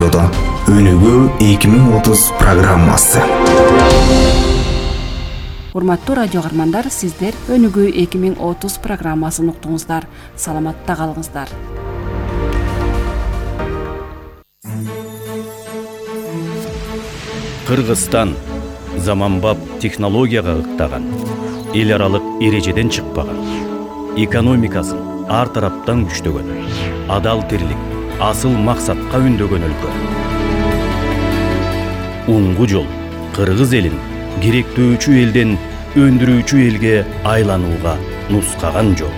радиодо Өнүгүү 2030 программасы. Урматтуу радио каармандар, сиздер Өнүгүү 2030 программасын уктуңуздар. Саламатта калыңыздар. Кыргызстан заманбап технологияга ыктаган, эл аралык эрежеден чыкпаган, экономикасын ар тараптан күчтөгөн, адал тирлик, асыл максатка үндөгөн өлкө. Уңгу жол кыргыз элин керектөөчү элден өндүрүүчү элге айланууга нускаган жол.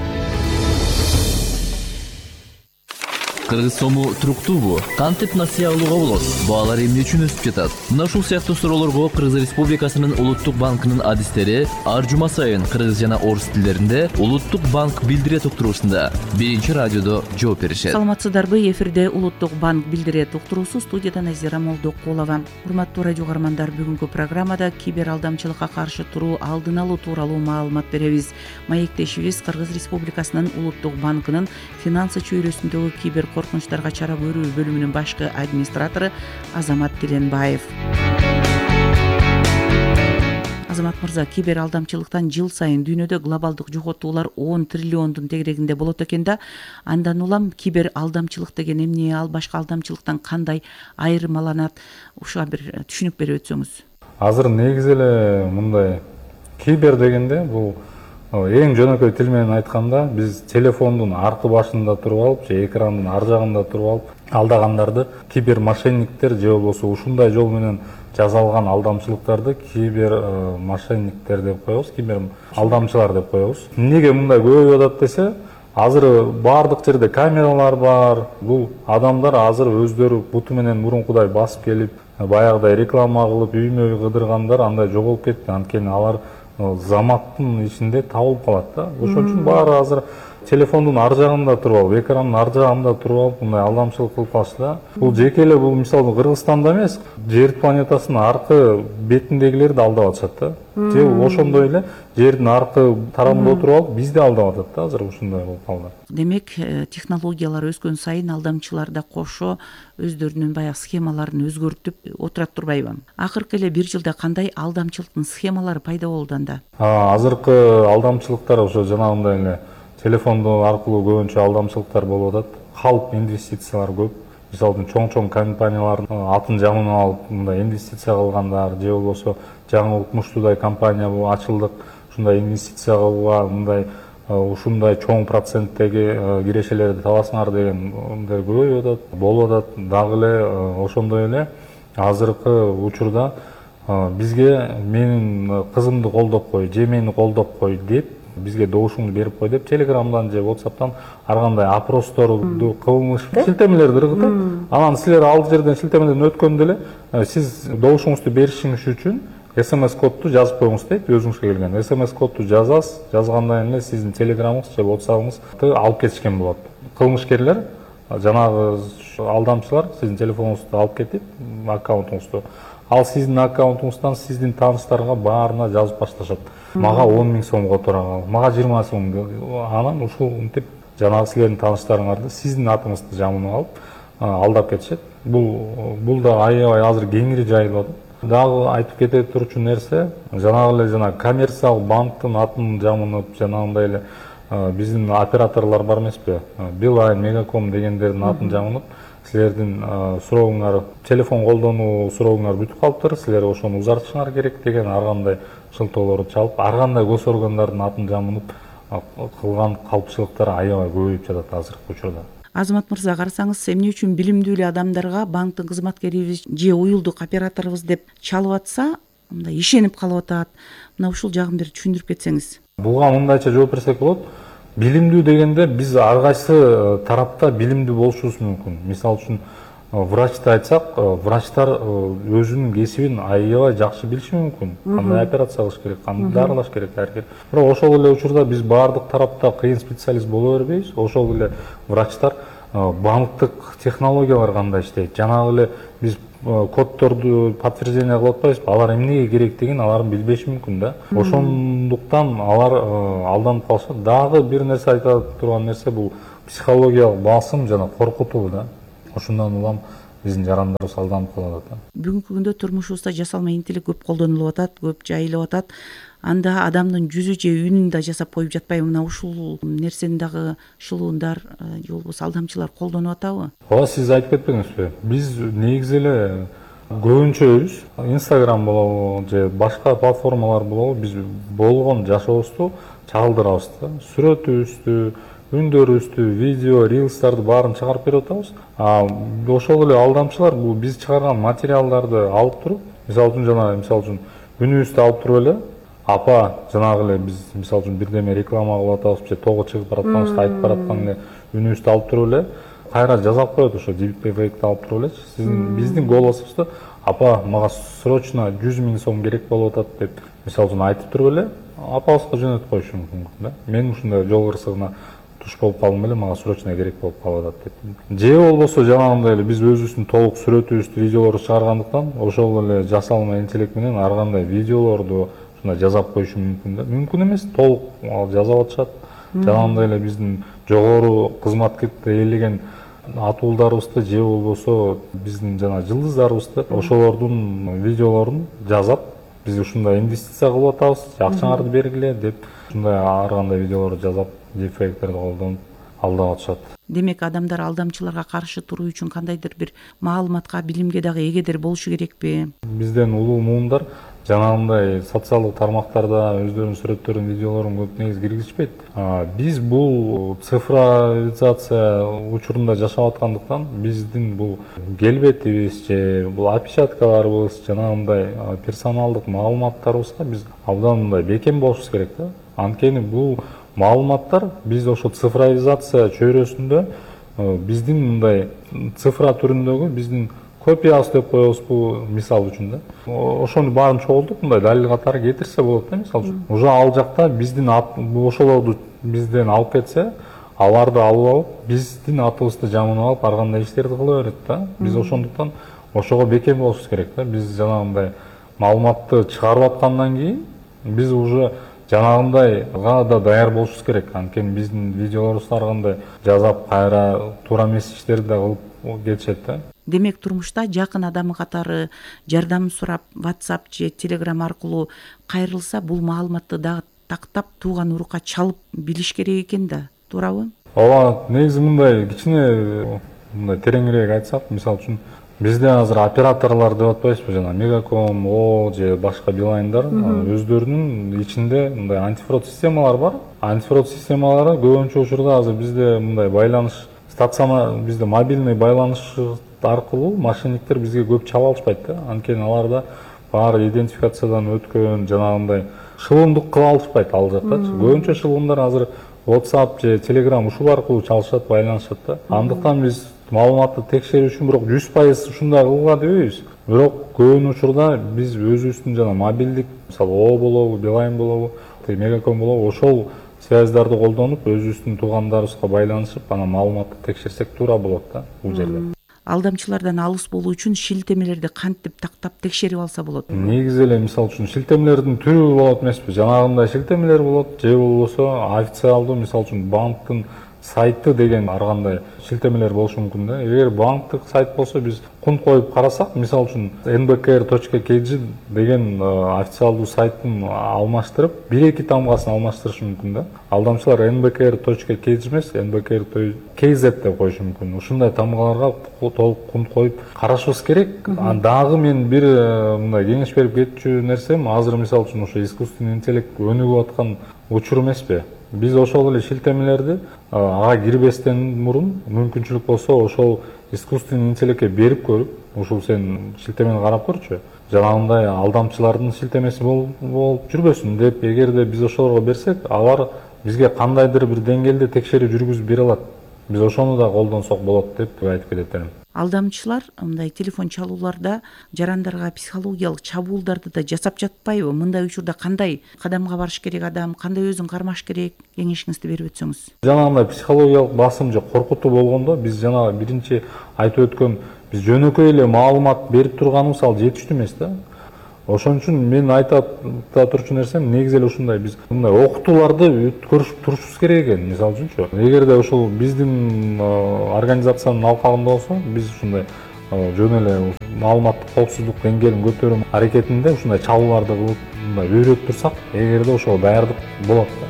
Кыргыз сому туруктуубу? Кантип насыя алууга болот? Баалар эмне үчүн өсүп жатат? Мына ушул сыяктуу суроолорго Кыргыз Республикасынын Улуттук банкынын адистери ар жума сайын кыргыз жана орус тилдеринде Улуттук банк билдирет уктуруусунда биринчи радиодо жооп беришет. Саламатсыздарбы? Эфирде Улуттук банк билдирет уктуруусу, студияда Назира Молдокулова. Урматтуу радио каармандар, бүгүнкү программада кибер алдамчылыкка каршы туруу, алдын алуу тууралуу маалымат беребиз. Маектешибиз Кыргыз Республикасынын Улуттук банкынын финансы чөйрөсүндөгү кибер коркунучтарга чара көрүү бөлүмүнүн башкы администратору Азамат Тиленбаев. Азамат мырза, кибер алдамчылыктан жыл сайын дүйнөдө глобалдык жоготуулар 10 триллиондун тегерегинде болот экен да. Андан улам кибер алдамчылык деген эмне, ал башка алдамчылыктан кандай айырмаланат? Ушуга бир түшүнүк берип өтсөңүз. Азыр негизи эле мындай кибер дегенде бул эң жөнөкөй тил менен айтканда биз телефондун аркы башында туруп алып же экрандын ар жагында туруп алып алдагандарды кибер мошенниктер же болбосо ушундай жол менен жасалган алдамчылыктарды кибер мошенниктер деп коебуз, кибер алдамчылар деп коебуз. Эмнеге мындай көбөйүп атат десе, азыр баардык жерде камералар бар. Бул адамдар азыр өздөрү буту менен мурункудай басып келип, баягыдай реклама кылып, үймө кыдыргандар андай жоголуп кетти. Анткени алар заматтын ичинде табылып калат да. Ошон үчүн баары азыр телефондун ар жагында туруп алып, экрандын ар жагында туруп алып мындай алдамчылык кылып калышты да. Бул жеке эле бул мисалы Кыргызстанда эмес, жер планетасынын аркы бетиндегилерди алдап атышат да. Же ошондой эле жердин аркы тарабында отуруп алып бизди алдап атат да азыр ушундай болуп калды. Демек, технологиялар өскөн сайын алдамчылар да кошо өздөрүнүн баягы схемаларын өзгөртүп отурат турбайбы? Акыркы эле бир жылда кандай алдамчылыктын схемалары пайда болду анда? Азыркы алдамчылыктар ошо жанагындай эле телефондо аркылуу көбүнчө алдамчылыктар болуп атат. Калп инвестициялар көп. Мисалы чоң компаниялардын атын жамын алып мындай инвестиция кылгандар, же болбосо жаңы укмуштуудай компания ачылдык, ушундай инвестиция кылууга мындай ушундай чоң проценттеги кирешелерди табасыңар деген мындай көбөйүп атат, болуп атат. Дагы эле ошондой эле азыркы учурда бизге менин кызымды колдоп кой, же мени колдоп кой деп, бизге добушуңду берип кой деп Телеграмдан же WhatsApp'тан ар кандай опросторду кылмыш шилтемелерди ыргытат. Анан силер ал жерден шилтемеден өткөндө эле сиз добушуңузду беришиңиз үчүн SMS-кодду жазып коюңуз дейт, өзүңүзгө келген. SMS-кодду жазасыз, жазгандан эле сиздин Телеграмыңыз же WhatsApp'ыңызды алып кетишкен болот. Кылмышкерлер, жанагы алдамчылар сиздин телефонуңузду алып кетип, аккаунтуңузду, ал сиздин аккаунтуңуздан сиздин тааныштарга баарына жазып башташат. Мага 10 000 сом которган, мага 20 сом. Анан ушул мынтип жанагы силердин тааныштарыңарды сиздин атыңызды жамынып алып алдап кетишет. Бул да аябай азыр кеңири жайылып атат. Дагы айтып кете турчу нерсе, жанагы эле коммерциялык банктын атын жамынып, жанагындай эле биздин операторлор бар эмеспи? Билайн, Мегаком дегендердин атын жамынып, силердин сурооңар, телефон колдонуу сурооңар бүтүп калыптыр, силер ошону узартышыңар керек деген ар кандай шылтоолорду чалып, ар кандай гос органдардын атын жамынып кылган калпчылыктар аябай көбөйүп жатат азыркы учурда. Азамат мырза, карасаңыз, эмне үчүн билимдүү эле адамдарга банктын кызматкерибиз же уюлдук операторубуз деп чалып атса, мындай ишенип калып атат? Мына ушул жагын бир түшүндүрүп кетсеңиз. Буга мындайча жооп берсек болот. Билимдүү дегенде биз ар кайсы тарапта билимдүү болушубуз мүмкүн. Мисалы үчүн врачты айтсак, врачтар өзүнүн кесибин аябай жакшы билиши мүмкүн. Кандай операция кылыш керек, кандай дарылаш керек, Бирок ошол эле учурда биз баардык тарапта кыйын специалист боло бербейбиз. Ошол эле врачтар банктык технологиялар кандай иштейт, жанагы эле биз коддорду подтверждение кылып атпайбызбы? Алар эмнеге керектигин алар билбеши мүмкүн да. Ошондуктан алар алданып калышат. Дагы бир нерсе айта турган нерсе бул психологиялык басым жана коркутуу да. Ошондон улам биздин жарандарыбыз алданып калып атат. Бүгүнкү күндө турмушубузда жасалма интеллект көп колдонулуп атат, көп жайылып атат. Анда адамдын жүзү же үнүн да жасап коюп жатпайбы? Мына ушул нерсени дагы шылуундар же болбосо алдамчылар колдонуп атабы? Ооба, сиз айтып кетпедиңизби? Биз негизи эле көбүнчөбүз Instagram болобу же башка платформалар болобу, биз болгон жашообузду чагылдырабыз да. Сүрөтүбүздү, үндөрүбүздү, видео, рилстарды баарын чыгарып берип атабыз. Ошол эле алдамчылар бул биз чыгарган материалдарды алып туруп, мисалы үчүн үнүбүздү алып туруп эле, апа жанагы эле биз мисалы үчүн бирдеме реклама кылып атабыз же тоого чыгып баратканыбызды айтып бараткан эле үнүбүздү алып туруп эле кайра жазап коет, ошо дипфейкти алып туруп элечи. Сиздин биздин голосубузду апа мага срочно 100 000 сом керек болуп атат деп мисалы үчүн айтып туруп эле апабызга жөнөтүп коюшу мүмкүн да. Мен ушундай жол кырсыгына туш болуп калдым эле, мага срочно керек болуп калып атат деп. Же болбосо жанагындай эле биз өзүбүздүн толук сүрөтүбүздү, видеолорду чыгаргандыктан ошол эле жасалма интеллект менен ар кандай видеолорду жазап коюшу мүмкүн да. Мүмкүн эмес, толук жазап атышат. Жанагындай эле биздин жогору кызматкетти ээлеген атуулдарыбызды же болбосо биздин жана жылдыздарыбызды ошолордун видеолорун жазап, биз ушундай инвестиция кылып атабыз, акчаңарды бергиле деп ушундай ар кандай видеолорду жазап, дипфейктерди колдонуп алдап атышат. Демек, адамдар алдамчыларга каршы туруу үчүн кандайдыр бир маалыматка, билимге дагы эгедер болушу керекпи? Бизден улуу муундар жанагындай социалдык тармактарда өздөрүнүн сүрөттөрүн, видеолорун көп негизи киргизишпейт. Биз бул цифровизация учурунда жашап аткандыктан биздин бул келбетибиз же бул опечаткаларыбыз, жанагындай персоналдык маалыматтарыбызга биз абдан мындай бекем болушубуз керек да. Анткени бул маалыматтар биз ошо цифровизация чөйрөсүндө биздин мындай цифра түрүндөгү биздин копиябыз деп коебузбу, мисал үчүн да. Ошону баарын чогултуп мындай далил катары кетирсе болот да, мисал үчүн. Уже ал жакта биздин ошолорду бизден алып кетсе, аларды алып алып, биздин атыбызды жамынып алып, ар кандай иштерди кыла берет да. Биз ошондуктан ошого бекем болушубуз керек да. Биз жанагындай маалыматты чыгарып аткандан кийин биз уже жанагындайга да даяр болушубуз керек. Анткени биздин видеолорубузду ар кандай жазап, кайра туура эмес иштерди да кылып кетишет да. Демек, турмушта жакын адамы катары жардам сурап, WhatsApp же Telegram аркылуу кайрылса, бул маалыматты дагы тактап, тууган урукка чалып билиш керек экен да, туурабы? Ооба, негизи мындай кичине мындай тереңирээк айтсак, мисалы үчүн бизде азыр операторлор деп атпайбызбы, жана Мегаком, О же башка Билайндар өздөрүнүн ичинде мындай антифрод системалар бар. Антифрод системалары көбүнчө учурда азыр бизде мындай байланыш бизде мобильный байланыш аркылуу мошенниктер бизге көп чала алышпайт да. Анткени аларда баары идентификациядан өткөн, жанагындай шылымдык кыла алышпайт ал жактачы. Көбүнчө шылымдар азыр WhatsApp же Telegram ушул аркылуу чалышат, байланышат да. Андыктан биз маалыматты текшерүү үчүн бирок 100% ушундай кылууга дебейбиз. Бирок көбүн учурда биз өзүбүздүн жана мобилдик, мисалы О болобу, Билайн болобу, Мегаком болобу, ошол связьдарды колдонуп, өзүбүздүн туугандарыбызга байланышып, анан маалыматты текшерсек туура болот да бул жерде. Алдамчылардан алыс болуу үчүн шилтемелерди кантип тактап текшерип алса болот? Негизи эле мисалы үчүн шилтемелердин түрү болот эмеспи? Жанагындай шилтемелер болот, же болбосо официалдуу, мисалы үчүн банктын сайты деген ар кандай шилтемелер болушу мүмкүн да. Эгер банктык сайт болсо, биз кунт коюп карасак, мисалы үчүн nbkr.kg деген официалдуу сайттын алмаштырып, 1-2 тамгасын алмаштырышы мүмкүн да. Алдамчылар nbkr.kg эмес, nbkr.kz деп коюшу мүмкүн. Ушундай тамгаларга толук кунт коюп карашыбыз керек. Дагы мен бир мындай кеңеш берип кетчү нерсем, азыр мисалы үчүн ошо искусственный интеллект өнүгүп аткан учур эмеспи? Биз ошол эле шилтемелерди ага кирбестен мурун мүмкүнчүлүк болсо ошол искусственный интеллектке берип көрүп, ушул сен шилтемени карап көрчү, жанагындай алдамчылардын шилтемеси болуп жүрбөсүн деп, эгерде биз ошолорго берсек, алар бизге кандайдыр бир деңгээлде текшерүү жүргүзүп бере алат. Биз ошону да колдонсок болот деп айтып кетет элем. Алдамчылар мындай телефон чалууларда жарандарга психологиялык чабуулдарды да жасап жатпайбы? Мындай учурда кандай кадамга барыш керек адам, кандай өзүн кармаш керек, кеңешиңизди берип өтсөңүз. Жанагындай психологиялык басым же коркутуу болгондо биз жана биринчи айтып өткөн биз жөнөкөй эле маалымат берип турганыбыз ал жетиштүү эмес да. Ошон үчүн мен айтып турчу нерсем негизи эле ушундай, биз мындай окутууларды өткөрүп турушубуз керек экен. Мисалы үчүнчү, эгерде ошол биздин организациянын алкагында болсо, биз ушундай жөн эле маалыматтык коопсуздук деңгээлин көтөрүү аракетинде ушундай чалууларды кылып мындай үйрөтүп турсак, эгерде ошого даярдык болот да.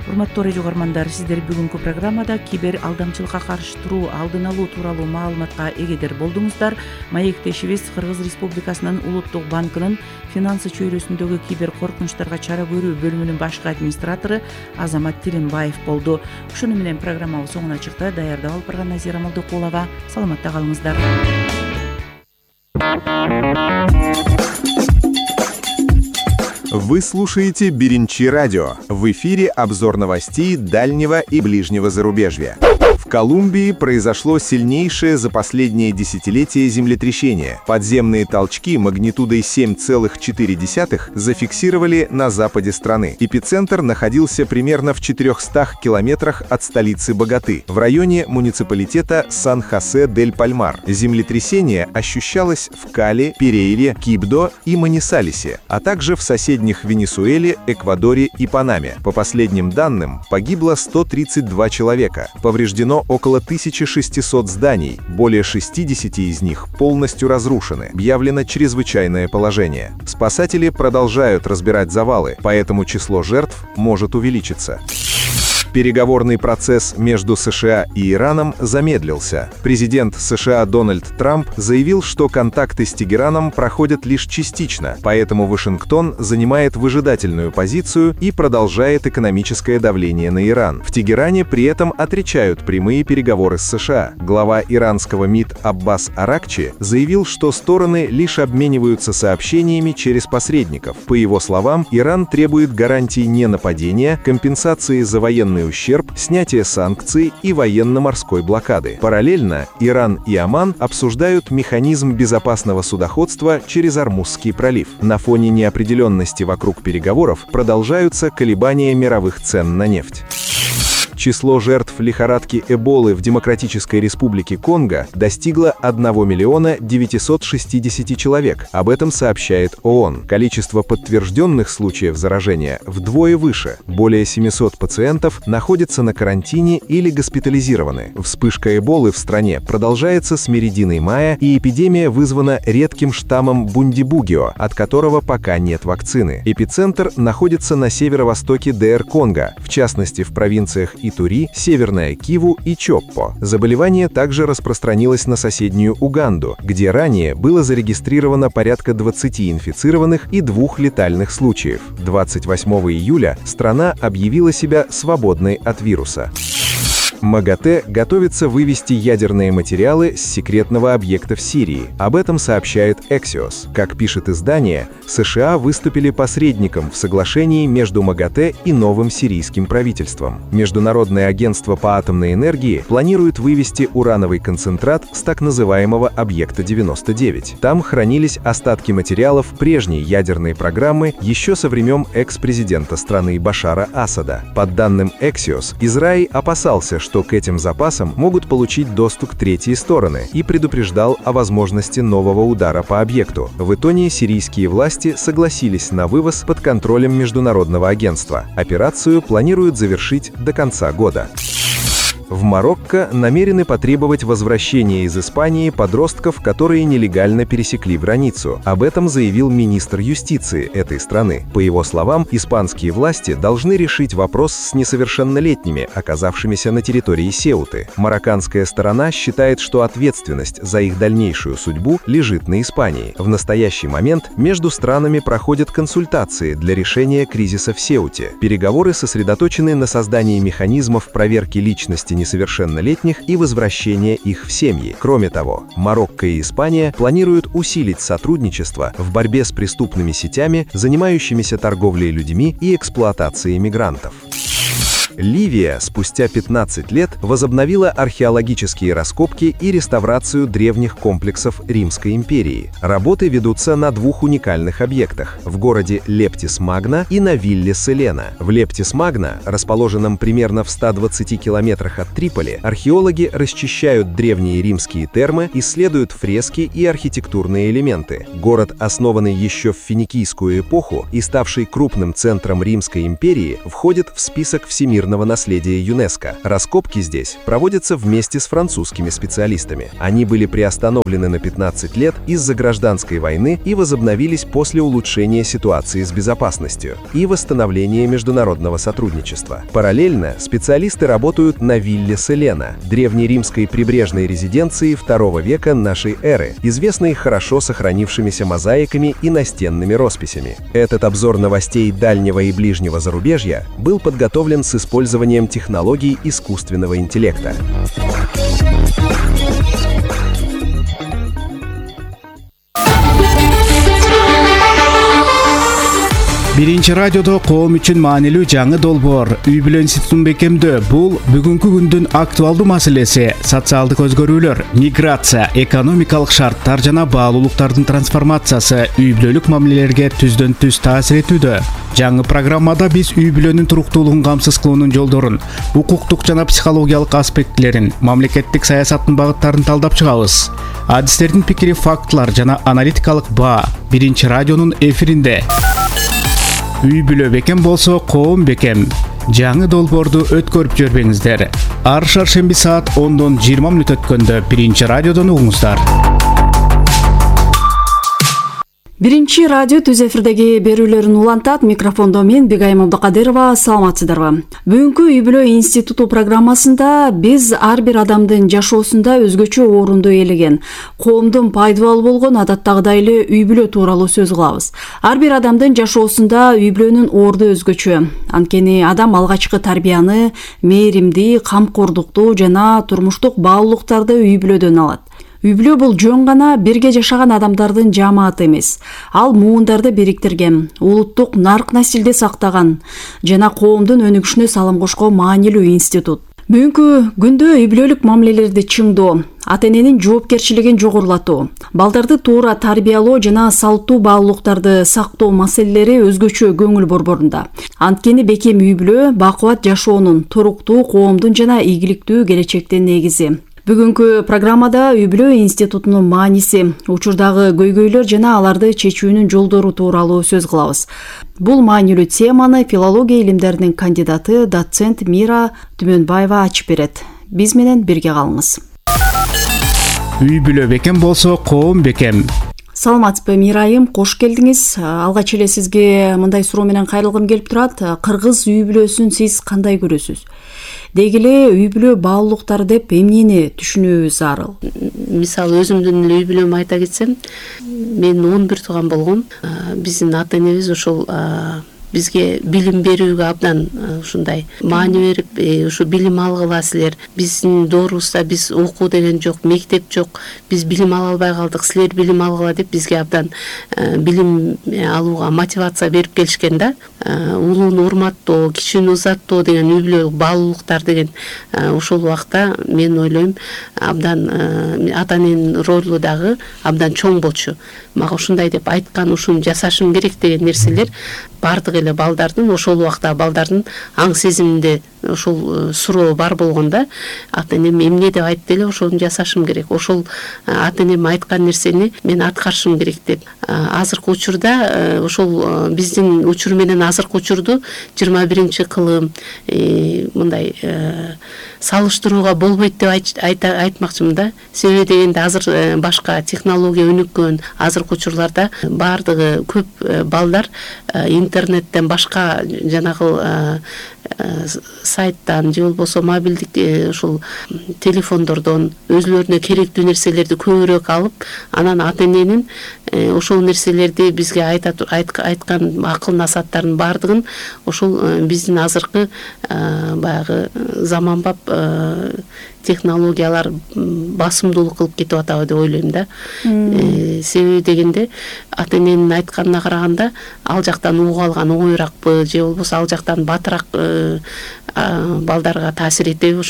Урматтуу радио угармандар, сиздер бүгүнкү программада кибер алдамчылыкка каршы туруу, алдын алуу тууралуу маалыматка эгедер болдуңуздар. Маектешибиз Кыргыз Республикасынын Улуттук банкынын финансы чөйрөсүндөгү кибер коркунучтарга чара көрүү бөлүмүнүн башкы администратору Азамат Тилинбаев болду. Ушуну менен программабыз соңуна чыкты. Даярдап алып барган Назира Молдокулова. Саламатта калыңыздар. Вы слушаете Беринчи радио. В эфире обзор новостей дальнего и ближнего зарубежья. В Колумбии произошло сильнейшее за последнее десятилетие землетрясение. Подземные толчки магнитудой 7,4 зафиксировали на западе страны. Эпицентр находился примерно в 400 километрах от столицы Боготы, в районе муниципалитета Сан-Хосе-дель-Пальмар. Землетрясение ощущалось в Кали, Перейре, Кибдо и Манисалесе, а также в соседних Венесуэле, Эквадоре и Панаме. По последним данным, погибло 132 человека. Повреждено около 1600 зданий, более 60 из них полностью разрушены. Объявлено чрезвычайное положение. Спасатели продолжают разбирать завалы, поэтому число жертв может увеличиться. Переговорный процесс между США и Ираном замедлился. Президент США Дональд Трамп заявил, что контакты с Тегераном проходят лишь частично, поэтому Вашингтон занимает выжидательную позицию и продолжает экономическое давление на Иран. В Тегеране при этом отрицают прямые переговоры с США. Глава иранского МИД Аббас Аракчи заявил, что стороны лишь обмениваются сообщениями через посредников. По его словам, Иран требует гарантий ненападения, компенсации за военный ущерб, снятие санкций и военно-морской блокады. Параллельно Иран и Оман обсуждают механизм безопасного судоходства через Ормузский пролив. На фоне неопределенности вокруг переговоров продолжаются колебания мировых цен на нефть. Число жертв лихорадки Эболы в Демократической Республике Конго достигло 1 960 человек. Об этом сообщает ООН. Количество подтвержденных случаев заражения вдвое выше. Более 700 пациентов находятся на карантине или госпитализированы. Вспышка Эболы в стране продолжается с середины мая, и эпидемия вызвана редким штаммом Бундибугио, от которого пока нет вакцины. Эпицентр находится на северо-востоке ДР Конго, в частности в провинциях Итури, Северная Киву и Чоппо. Заболевание также распространилось на соседнюю Уганду, где ранее было зарегистрировано порядка 20 инфицированных и 2 летальных случаев. 28 июля страна объявила себя свободной от вируса. МАГАТЭ готовится вывести ядерные материалы с секретного объекта в Сирии. Об этом сообщает Axios. Как пишет издание, США выступили посредником в соглашении между МАГАТЭ и новым сирийским правительством. Международное агентство по атомной энергии планирует вывести урановый концентрат с так называемого объекта 99. Там хранились остатки материалов прежней ядерной программы еще со времен экс-президента страны Башара Асада. По данным Axios, Израиль опасался, что к этим запасам могут получить доступ третьи стороны, и предупреждал о возможности нового удара по объекту. В итоге сирийские власти согласились на вывоз под контролем международного агентства. Операцию планируют завершить до конца года. В Марокко намерены потребовать возвращения из Испании подростков, которые нелегально пересекли границу. Об этом заявил министр юстиции этой страны. По его словам, испанские власти должны решить вопрос с несовершеннолетними, оказавшимися на территории Сеуты. Марокканская сторона считает, что ответственность за их дальнейшую судьбу лежит на Испании. В настоящий момент между странами проходят консультации для решения кризиса в Сеуте. Переговоры сосредоточены на создании механизмов проверки личности несовершеннолетних и возвращения их в семьи. Кроме того, Марокко и Испания планируют усилить сотрудничество в борьбе с преступными сетями, занимающимися торговлей людьми и эксплуатацией мигрантов. Ливия спустя 15 лет возобновила археологические раскопки и реставрацию древних комплексов Римской империи. Работы ведутся на 2 уникальных объектах – в городе Лептис-Магна и на вилле Селена. В Лептис-Магна, расположенном примерно в 120 километрах от Триполи, археологи расчищают древние римские термы, исследуют фрески и архитектурные элементы. Город, основанный еще в финикийскую эпоху и ставший крупным центром Римской империи, входит в список всемирных всемирного наследия ЮНЕСКО. Раскопки здесь проводятся вместе с французскими специалистами. Они были приостановлены на 15 лет из-за гражданской войны и возобновились после улучшения ситуации с безопасностью и восстановления международного сотрудничества. Параллельно специалисты работают на вилле Селена, древнеримской прибрежной резиденции II века нашей эры, известной хорошо сохранившимися мозаиками и настенными росписями. Этот обзор новостей дальнего и ближнего зарубежья был подготовлен с использованием технологий искусственного интеллекта. Биринчи радиодо коом үчүн маанилүү жаңы долбоор үй бүлө институтун бекемдөө. Бул бүгүнкү күндүн актуалдуу маселеси. Социалдык өзгөрүүлөр, миграция, экономикалык шарттар жана баалуулуктардын трансформациясы үй бүлөлүк мамилелерге түздөн түз таасир этүүдө. Жаңы программада биз үй бүлөнүн туруктуулугун камсыз кылуунун жолдорун, укуктук жана психологиялык аспектилерин, мамлекеттик саясаттын багыттарын талдап чыгабыз. Адистердин пикири, фактылар жана аналитикалык баа биринчи радионун эфиринде. Үй бүлө бекем болсо коом бекем. Жаңы долбоорду өткөрүп жүрбөңүздөр. Ар шаршемби саат 10-дон 20 мүнөт өткөндө биринчи радиодон угуңуздар. Биринчи радио түз эфирдеги берүүлөрүн улантат. Микрофондо мен Бегайым Абдыкадырова. Саламатсыздарбы? Бүгүнкү үй бүлө институту программасында биз ар бир адамдын жашоосунда өзгөчө орунду ээлеген, коомдун пайдалуу болгон адаттагыдай эле үй бүлө тууралуу сөз кылабыз. Ар бир адамдын жашоосунда үй бүлөнүн орду өзгөчө. Анткени адам алгачкы тарбияны, мээримди, камкордукту жана турмуштук баалуулуктарды үй бүлөдөн алат. Үй бүлө бул жөн гана бирге жашаган адамдардын жамааты эмес. Ал муундарды бириктирген, улуттук нарк насилди сактаган жана коомдун өнүгүшүнө салым кошкон маанилүү институт. Бүгүнкү күндө үй бүлөлүк мамилелерди чыңдоо, ата-эненин жоопкерчилигин жогорулатуу, балдарды туура тарбиялоо жана салттуу баалуулуктарды сактоо маселелери өзгөчө көңүл борборунда. Анткени бекем үй бүлө бакубат жашоонун, туруктуу коомдун жана ийгиликтүү келечектин негизи. Бүгүнкү программада үй бүлө институтунун мааниси, учурдагы көйгөйлөр жана аларды чечүүнүн жолдору тууралуу сөз кылабыз. Бул маанилүү теманы филология илимдеринин кандидаты, доцент Мира Түмөнбаева ачып берет. Биз менен бирге калыңыз. Үй бүлө бекем болсо коом бекем. Саламатсызбы, Мирайым, кош келдиңиз. Алгач эле сизге мындай суроо менен кайрылгым келип турат. Кыргыз үй бүлөсүн сиз кандай көрөсүз? Деги эле үй бүлө баалуулуктары деп эмнени түшүнүүбүз зарыл? Мисалы өзүмдүн үй бүлөмдү айта кетсем, мен 11 тууган болгом. Биздин ата-энебиз ошол бизге билим берүүгө абдан ушундай маани берип, ушу билим алгыла силер. Биздин доорубузда биз окуу деген жок, мектеп жок. Биз билим ала албай калдык, силер билим алгыла деп бизге абдан билим алууга мотивация берип келишкен да. Улууну урматтоо, кичүүнү узаттоо деген үй бүлө баалуулуктар деген ошол убакта мен ойлойм абдан ата-эненин ролу дагы абдан чоң болчу. Мага ушундай деп айткан, ушуну жасашым керек деген нерселер бардык эле балдардын, ошол убакта балдардын аң сезиминде ошол суроо бар болгондо ата-энем эмне деп айтты эле, ошону жасашым керек. Ошол ата-энем айткан нерсени мен аткарышым керек деп. Азыркы учурда ошол биздин учур менен азыркы учурду 21-кылым мындай салыштырууга болбойт деп айтмакчымын да. Себеби дегенде азыр башка технология өнүккөн, азыркы учурларда бардыгы көп балдар интернеттен башка жанагы сайттан же болбосо мобилдик ушул телефондордон өзүлөрүнө керектүү нерселерди көбүрөөк алып, анан ата-эненин ошол нерселерди бизге айткан акыл насааттардын бардыгын ошол биздин азыркы баягы заманбап технологиялар басымдуулук кылып кетип атабы деп ойлойм да. Себеби дегенде ата-эненин айтканына караганда ал жактан угуп алган оңоюраакпы же болбосо ал жактан батыраак балдарга таасир этеби,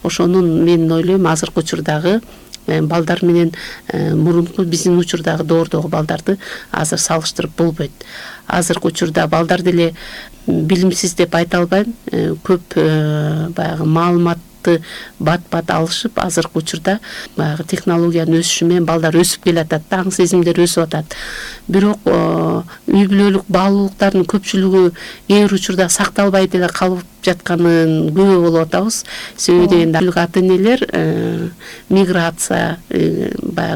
ошонун мен ойлойм азыркы учурдагы балдар менен мурунку биздин учурдагы доордогу балдарды азыр салыштырып болбойт. Азыркы учурда балдар деле билимсиз деп айта албайм, көп баягы маалымат маалыматты бат алышып, азыркы учурда баягы технологиянын өсүшү менен балдар өсүп келатат, аң сезимдер өсүп атат. Бирок үй бүлөлүк баалуулуктардын көпчүлүгү кээ бир учурда сакталбай деле калып жатканын күбө болуп атабыз. Себеби дегенде ата энелер миграция баягы